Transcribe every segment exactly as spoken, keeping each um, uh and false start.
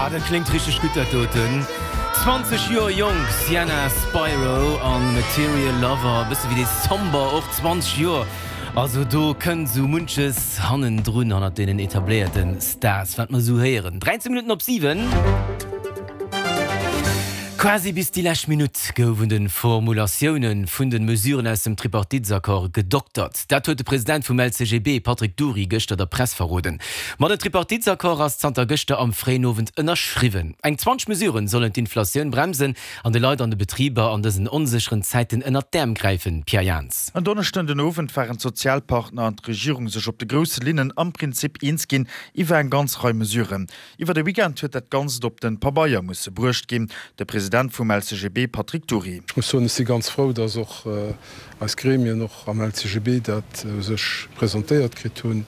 Ah, dat kléngt richteg gutt dat doten. zwanzeg Joer jonk, Sienna Spiro an Material Lover, e bësse wéi dee Somber, och zwanzeg Joer. Also do kënnt sou munches hannendrun, hannert deenen etabléierte Stars, wat mer sou héieren. dräizéng Minutten op siwen. Quasi bis déi lescht Minutt gouf un de Formulatioune vun de Mesuren aus dem Tripartitesaccord gedoktert. Dat huet de President vum L C G B Patrick Dury gëschter der Press verroden. Ma den Tripartitesaccord ass zanter gëschter am fréien Owend ënnerschriwwen. Eng zwanzeg Mesuren sollen d'Inflatioun bremsen an de Leit an de Betriber an dësen onsécheren Zäiten ënnert d'Äerm gräifen. Pierre Jans. En Donneschden den Owend waren d'Sozialpartner an d'Regierung sech op de grousse Linnen am Prinzip eens ginn iwwer eng ganz Rei Mesuren. Iwwer de Weekend huet dat Ganzt op de Pabeier musse bruecht ginn. De President vum L C G B Patrick Dury. Ech muss soen, ech si ganz frou, dass och eis Gremien och am L C G B dat sech presentéiert kritt hunn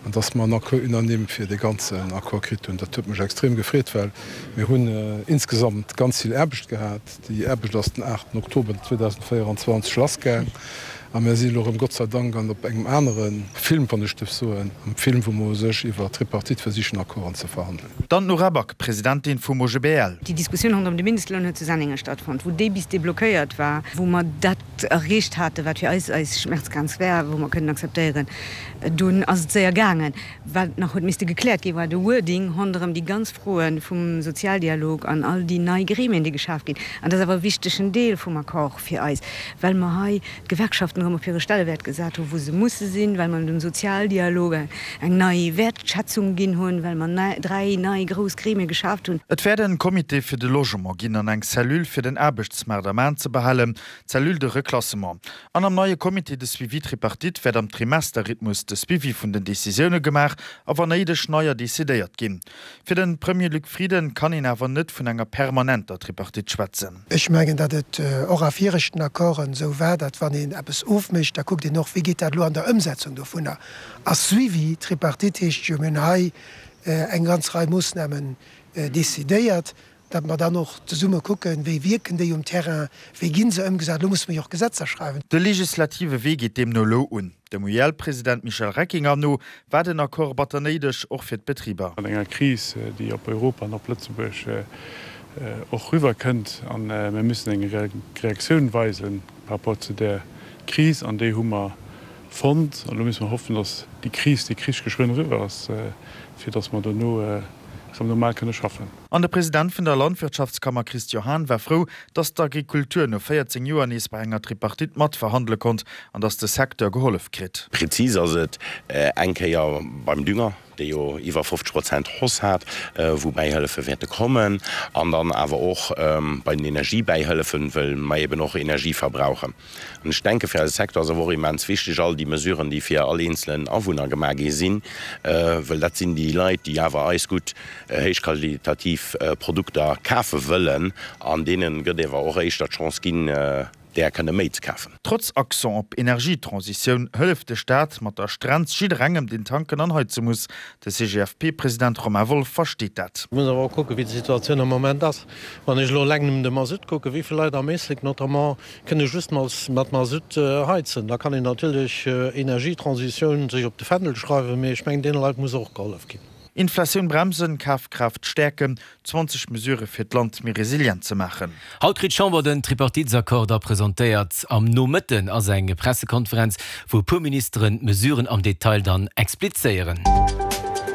an dass mer en Accord unanime fir de ganzen Accord kritt hunn. Dat huet mech extrem gefreet, well mir hunn insgesamt ganz vill Aarbecht gehat. Déi Aarbecht ass den aachten Oktober zweedausendvéierenzwanzeg lassgaang a mir si lo erëm Gott sei Dank an op engem anere Film, wann ech dierf soen, am Film, wou mer u sech iwwer Tripartite versichen Accorden ze verhandelen. Dann d'Nora Back, Presidentin vum O G B L. Déi Diskussioun ronderëm de Mindestloun huet zu Senningen stattfonnt, wou déi bis deblockéiert war, wou mer dat erreecht haten, wat fir eis eis Schmerzgrenz war, wou mer kënnen akzeptéieren. Dunn ass et séier gaangen. Wat nach huet misste gekläert ginn, war de Wording ronderëm déi ganz Froe vum Sozialdialog an all déi nei Gremien, déi geschaf ginn. An dat ass awer e wichtegen Deel vum Accord fir eis, well mer hei d'Gewerkschaften erëm op hire Stellewäert gesat hunn, wou se musse sinn, well mer dem Sozialdialog eng nei Wäertschätzung ginn hunn, well mer dräi nei grouss Gremie geschaaft hunn. Et wäert en Comité fir de Logement ginn an eng Cellule fir den Aarbechtsmaart am An ze behalen, d'Cellule de reclassement. An am neie Comité de suivi tripartite wäert am Trimesterrhythmus de Suivi vun den Decisioune gemaach a wann néideg neier decidéiert ginn. Fir de Premier Luc Frieden kann een awer net vun enger permanenter Tripartite schwätzen. Ech mengen, datt et och a viregten Accorden esou war, datt wann een eppes ofmécht, da kuckt een och, wéi geet dat elo an der Ëmsetzung dovunner. A Suivi tripartite heescht jo, mir hunn hei eng ganz Rei Moossnamen decidéiert, datt mer dann och zesumme kucken, wéi wierken déi um Terrain, wéi gi se ëmgesat. Elo musse mer jo och Gesetzer schreiwen. De legislative Wee geet deemno elo un. Dem U I L-President Michel Reckinger no war den Accord batter néideg, och fir d'Betriber. An enger Kris, déi op Europa an op Lëtzebuerg och riwwerkënnt, a mir müssen eng Reaktioun weisen par rapport zu där Kris, an déi hu mer fonnt. An elo musse mer hoffen, datt déi Kris, déi Krich geschwënn eriwwer ass, fir datt mer dono erëm normal kënne schaffen. An de President vun der Landwirtschaftskammer Christian Hahn war frou, datt d'Agrikultur no véierzéng Joer nees bei enger Tripartite matverhandele konnt an datt de Secteur gehollef kritt. Prezis ass et eng Kéier beim Dünger, dee jo iwwer fofzeg Prozent Hausse hat, wou Bäihëllefe wäerte kommen, an dann awer och bei den Energiebäihëllefen, wëll mer eben och Energie verbrauchen. An ech denke fir eise Secteur ass awer och immens wichteg all déi Mesuren, déi fir all eenzelen Awunner gemaach gi sinn, wëll dat sinn déi Leit, déi awer eis gutt héichqualitativ Produkter kafe wëllen, an deene gëtt ewer och éischter d'Chance ginn, där kënne méi ze kafen. Trotz Accent op Energietransitioun hëlleft de Staat mat der Strenz jidderengem, deen tanken an heize muss. De C G F P-President Romain Wolff versteet dat. Et muss awer och kucken, wéi d'Situatioun am Moment ass. Wann ech elo eleng nëmmen de Masutt kucken, wéi vill Leit am Éislek notamment kënne just mat Masutt heizen, da kann een natierlech Energietransitioun sech op de Fändel schreiwen, mee ech mengen, deene Leit muss och gehollef ginn. Inflatioun bremsen, Kafkraaft stäerken, zwanzeg Mesurë fir d'Land méi resilient ze maachen. Haut kritt d'Chamber den Tripartitesaccord da presentéiert. Am Nomëtten ass eng Pressekonferenz, wou e puer Ministeren d'Mesuren am Detail dann explizéieren.